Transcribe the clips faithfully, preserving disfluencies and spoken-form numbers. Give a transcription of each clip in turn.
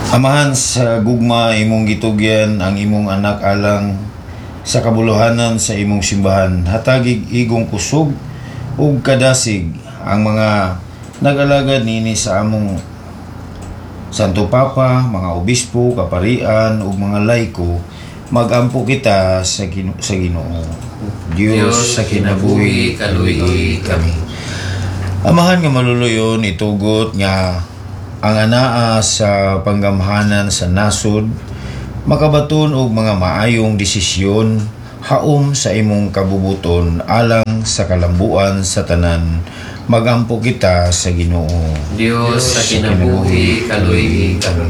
Amahan sa gugma imong gitugyan ang imong anak alang sa kabuluhanan sa imong simbahan. Hatagig igong kusog ug kadasig ang mga nag-alagad niini sa among Santo Papa, mga obispo, kaparian ug mga laiko, magampo kita sa Gino- sa Ginoo. Dios sa kinabuhi, kaluy kami. Amahan nga maluluyon, itugot nga ang anaa sa panggamhanan sa nasod makabaton og mga maayong desisyon haom sa imong kabubuton alang sa kalambuan sa tanan. Magampo kita sa Ginoo. Dios sa kinabuhi, kaluy kami.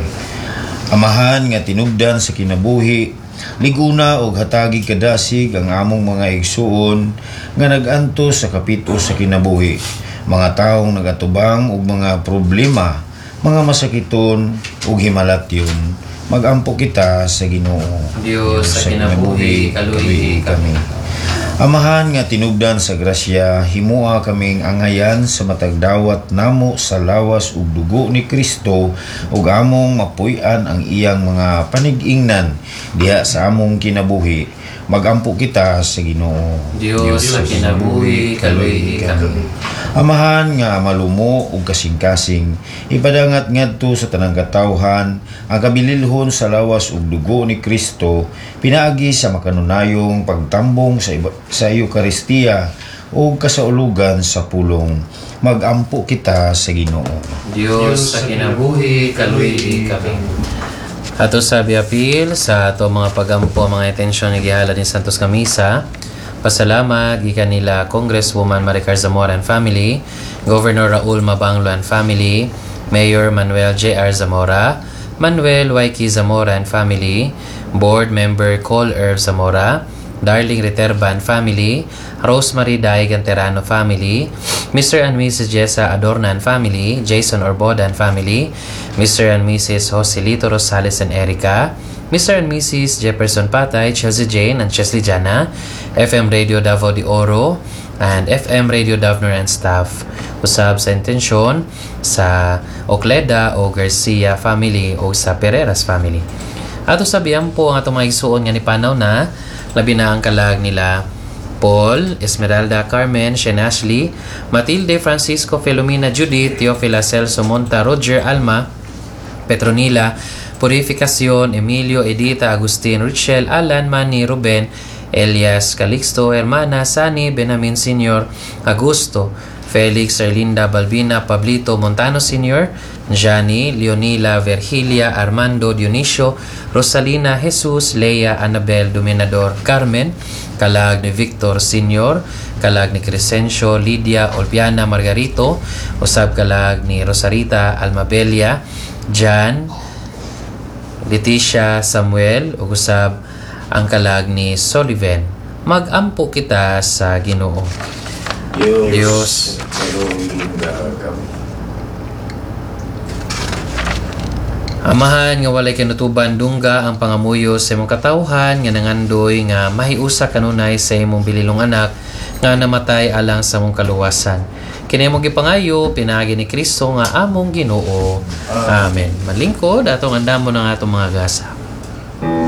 Amahan nga tinubdan sa kinabuhi, liguna og hatagi kadasig ang among mga igsuon nga nag-antos sa kapito sa kinabuhi, mga taong nagatubang og mga problema, mga masakiton ug himalatyon. Magampo kita sa Ginoo. Dios sa kinabuhi, kaluy kami. Amahan nga tinubdan sa grasya, himua kaming angayan sa matag dawat namo sa lawas ug dugo ni Kristo ug among mapuy-an ang iyang mga panig-ingnan diha sa among kinabuhi. Magampo kita sa Ginoo. Dios sa kinabuhi, kaluy kami. Amahan nga malumo ug kasing-kasing, ipadangat ngadto sa tanang katawhan ang kabililhon sa lawas ug dugo ni Kristo pinaagi sa makanunayong pagtambong sa iba, sa Eukaristiya ug kasaulugan sa pulong. Magampo kita sa Ginoo. Dios sa kinabuhi, kaluy kami. Ato sa biapil sa ato mga pagampo ang mga intensyon ni gihalad ni Santos Kamisa. Pasalamat gikan nila Congresswoman Maricar Zamora and family, Governor Raul Mabanglo and family, Mayor Manuel J R. Zamora, Manuel Waiki Zamora and family, Board Member Cole Irv Zamora, Darling Reterba and family, Rosemary Daigan Terano family, Mister and Missus Jessa Adorna and family, Jason Orboda and family, Mister and Missus Joselito Rosales and Erica, Mister and Missus Jefferson Patay, Chelsea Jane and Chesley Jana, F M Radio Davao de Oro, and F M Radio Davner and staff. Usab sa intensyon sa Ocleda o Garcia family o sa Pereras family. Ato sa po ang atong mga igsuon nga ni panaw na, labi na ang kalag nila Paul, Esmeralda, Carmen, Shane Ashley, Matilde, Francisco, Filomena, Judith, Teofila, Celso, Monta, Roger, Alma, Petronila, Purificacion, Emilio, Edita, Agustin, Richel, Alan, Manny, Ruben, Elias, Calixto, Hermana, Sani, Benamin Senior, Augusto, Felix, Erlinda, Balbina, Pablito, Montano Senior, Gianni, Leonila, Virgilia, Armando, Dionisio, Rosalina, Jesus, Leia, Annabel, Dominador, Carmen, kalag ni Victor Senior, kalag ni Crescencio, Lydia, Olviana, Margarito, usab kalag ni Rosarita, Almabelia, Jan, Leticia, Samuel, ug usab ang kalag ni Sullivan. Magampo kita sa Ginoo. Dios, Dios, kami. Amahan nga walay kinutuban, dungga ang pangamuyo sa imong katawhan nga nangandoy nga mahiusa kanunay sa imong bililong anak nga namatay alang sa imong kaluwasan. Kini imong gipangayo pinaagi ni Kristo nga among Ginoo. Amen. Malingkod atong andamo ng atong mga gasa.